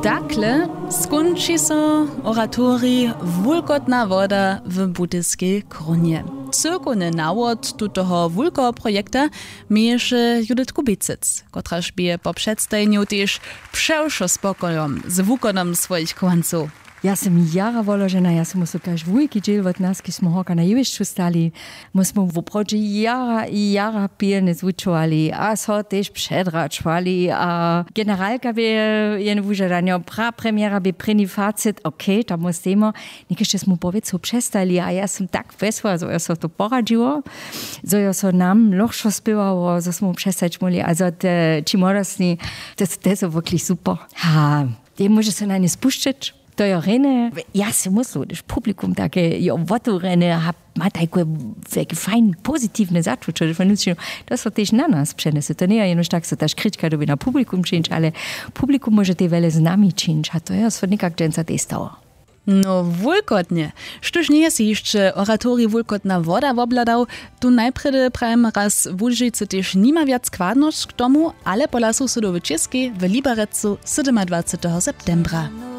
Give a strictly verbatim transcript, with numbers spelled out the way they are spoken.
Takle skónči so oratorij Wulkotna woda w Budyskej Krunje. Cyłkowny nawod tutoho wulkeho projekta měješe Judith Kubicec, kotraž bě po předstajenju tež přewšo spokojom z wukonom swojich chowancow. Ja sym jara woložena, ja sym so kaž wulki dźěl wot nas, kiž smy horka na jewišću stali. My smy woprawdźe jara i jara pilnje zwučowali a so tež předračowali a generalka bě jen wužadanjo, pra premjera bě prěni facit, okay, tam wostejmy. Někešće smy powěcu přestali a ja sym tak wjesła, zo jo so to poradźiło, zo jo so nam lochšo spěwało, zo smy přestać móhli a zo te ći młodostni, te, te su wokli super. Ha, te móže so na nje spušćeć. To jo rjene, ja sej myslu, hdyž publikum take jo wotewrjene a ma tajke wjelke fajn pozitiwne začuće, to so tež na nas přenjese. To njeje jenož tak so ta škrička dyrbi na publikum čińć, ale publikum móže tej wjele z nami čińć a to jo so někak dźensa tej stało. No wulkotnje. Štóž njeje sej hišće oratorij Wulkotna woda wobhladał, tu najprjedy prajemy raz, Łužicy tež nima wjac kładnosć k tomu, ale pola sosedow w Českej w Liberecu sydomadwaceteho septembra.